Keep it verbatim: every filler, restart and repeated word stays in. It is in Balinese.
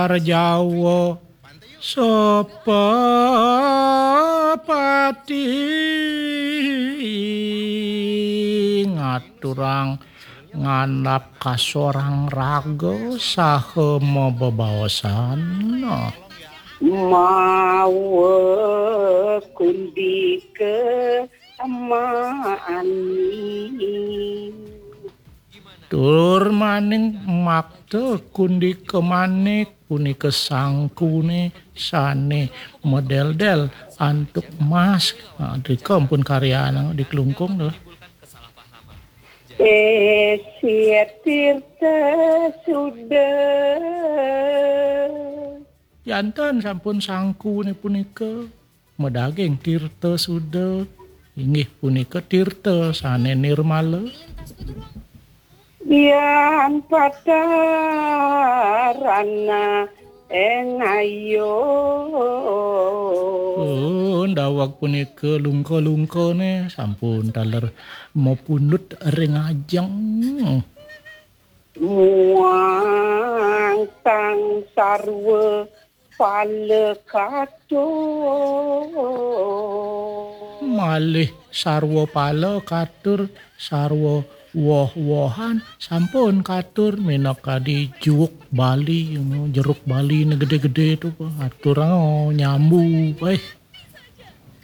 Jawa sepepati ngaturang ngandap kasorang raga saha mabebaosan. Mawa kundika manik. Tur maning makta kundika manik punika sangkune sane madeldel antuk mas. Nah, drika ampun karyanang di klungkung to. Sesih tirta suda. Janten sampun sangkune punika madaging tirta suda, inggih punika tirta sane nirmala. Yan patarana eng ayo. Oh, daweg punika lungka-lungkane sampun taler mapundhut ring ajeng. Muang tang sarwa pala katur. Malih sarwa pala katur, sarwa woh-wohan sampun katur minakadi juuk Bali, jeruk Bali ne gede-gede to, aturang nyambu, eh.